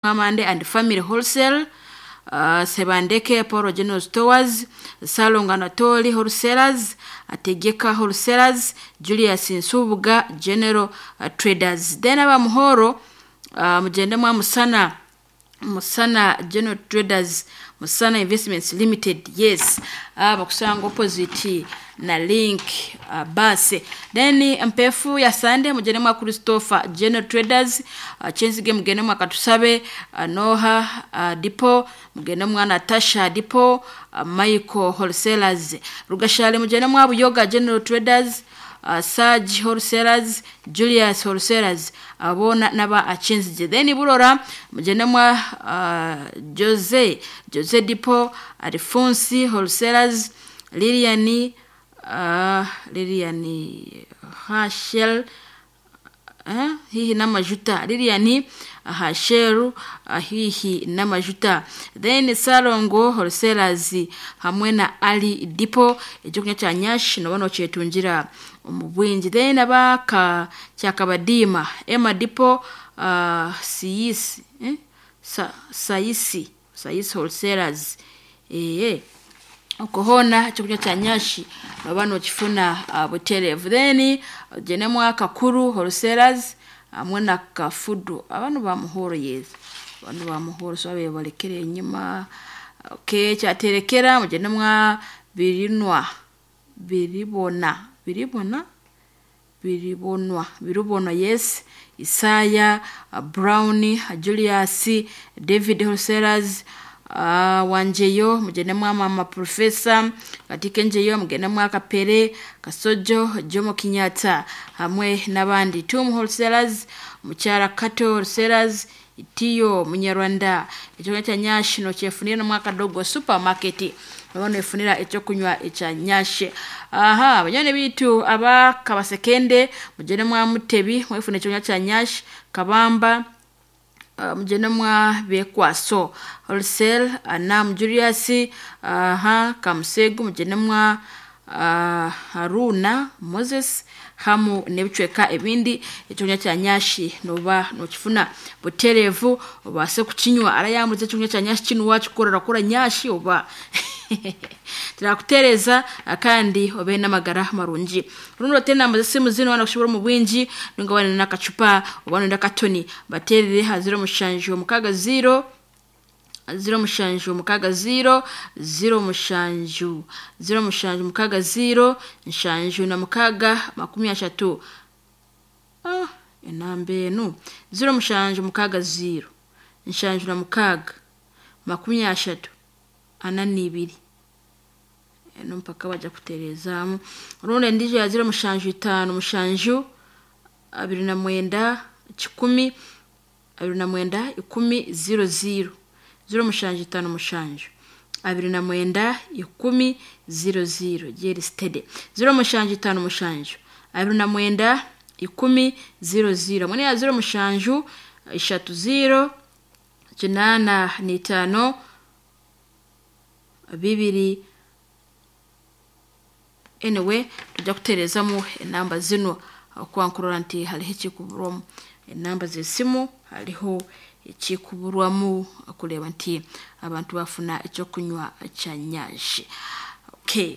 Mwamande and Family Wholesale, Sebandeke Paul General Stores, Salonga Anatoli Wholesalers, Ategeka Wholesalers, Julius Nsubuga General Traders. Then abamuhoro mugende mwa Musana Musana General Traders, Musana Investments Limited. Yes, bakusanga opposite na Link base. Then mpefu ya Sande mugende mwa Christopher General Traders, Chenzige mugende mwa Katusabe, Noha Depot, mugende mwa Natasha Depot, Michael Wholesalers. Rugashale mugende mwa Buyoga General Traders, Saj Wholesalers, Julius Wholesalers, abona naba Achenzige. Then Burora mugende mwa Jose Jose Depot, Alphonse Wholesalers, Lilian Lilian Hashel hihi n'amajuta Lilian Hasheru hihi n'amajuta. Then Salongo Wholesalers hamwe na Ali Depot ekyokunywa kya nyashi noba nokyetungira omu bwingi. Then abaka Kyakabadiima Emma Depot, Siyisi Sayisi Sayisi Wholesalers okwo hoona ekyokunywa kya nyashi noba nokifuna butereevu. Then ogyende mwa Kakuru Wholesalers hamwe na Kafudu. Abanu ba Muhoro yes, abanu ba Muhoro so babaire balekere enyima. Okay, Kyaterekera mugyende mwa Birinwa Biribona Biribona Biribonwa Biribonwa yes, Isaya Brown Julius David Wholesalers, Wanjeyo mugende mwa Mama Professor Katika Njeyo mugende mwa Kapere Kasojo Jomo Kenyatta hamwe n'abandi. Tum Wholesalers, Mukyara Kato Wholesalers, Itiyo Munyarwanda. Ekyokunywa kya nyashi nokyefunira nomwa Kadogo Supermarket noba noyefunira ekyokunywa ekya nyashi. Aha banywani biitu aba Kabasekende mugende mwa Mutebi mwefune ekyokunywa kya nyashi. Kabamba mugende mwa Bekwaso Wholesale, Anam Julius, aha Kamusegu mugende mwa Haruna Moses hamu n'ebicweka ebindi. Ekyokunywa kya nyashi noba nokifuna butereevu obaase kukinywa. Arayambuza ekyokunywa kya nyashi kinu wakikora orakora nyashi oba turakuteereza kandi obe n'amagara marungi. Rundi oteere enamba z'esimu zinu waaba nokushobora omu bwingi ninga waaba n'akacupa oba noyenda akatoni bateerere aha 0760 0760 07 0760 76 30. Enamba enu 0760 76 30 42 eno mpaka bajja kutereezaamu. Rundi endiijo ya 0757 29 10 29 10 00 0757 29 10 00 Jerry Steady 0757 29 10 00 hamwe n'eya 07 30 85 2. Anyway, tujja kutereezamu enamba zinu okuba nkurora nti hariho ekikuburwamu. Enamba z'esimu hariho ekikuburwamu okureeba nti abantu bafuna ekyokunywa kya nyashi. Okay.